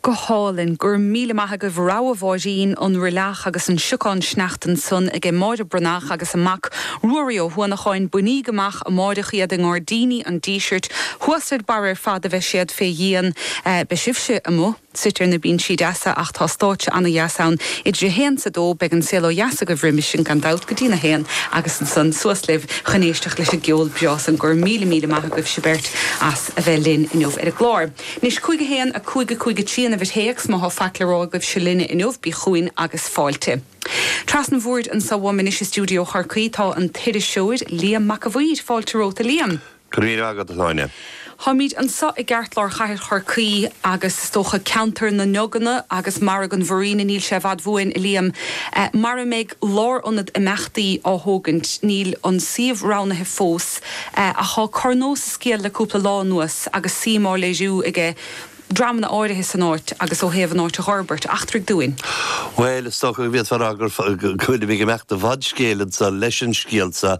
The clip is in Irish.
Go hálainn. Go raibh míle maith agaibh. Rogha Mháirín, An Roilleach agus an Siocán Sneachta ansan aige Máire Breathnach agus a mac Ruairí Ó hUanacháin. Bainíg amach amáireach iad i nGairdíní an Dísirt. Thuas ar barr ar fad a bheidh siad fé dhíon. Beidh sibhse amuigh suite ar na binsí deasa ach tá stáitse ana-dheas ann. Idir a haon 's a dó beidh an Saol Ó Dheas agaibh roimis sin gan dabht go dtí'n a haon agus ansan suas libh chun éisteacht leis an gceol breá san. Go raibh míle míle maith agaibhse beirt as a bheith linn inniu ar an gclár. Anois, 5 1 5 5 3 an uimhir théacs, má thá faic le rá agaibhse linne inniu, bí chugainn agus fáilte. Trasna an bhoird anso uaim anois i stiúideo Chorcaí tá an t-iriseoir Liam Mac a' Mhaoir. Fáilte romhat, a Liam. Go raibh míle maith agat, a Shláine. Táimid anso i gceartlár chathair Chorcaí agus is dócha ceantar na nDuganna agus Margadh an Mhuirín, níl sé i bhfad uainn, a Liam, mar a mbeidh lárionad imeachtaí á thógaint. Níl an suíomh roghnaithe fós. Ach tá corr-nós sa scéal le cúpla lá anuas agus suim á léiriú aige dreamanna áirithe san áit agus ó thaobh an áit a dh'fhorbairt. Eachtraigh dúinn. Bhuel, is dócha go bhféadfá a rá go bhfuilim ag imeacht i bhfad scéil anso leis an scéal seo.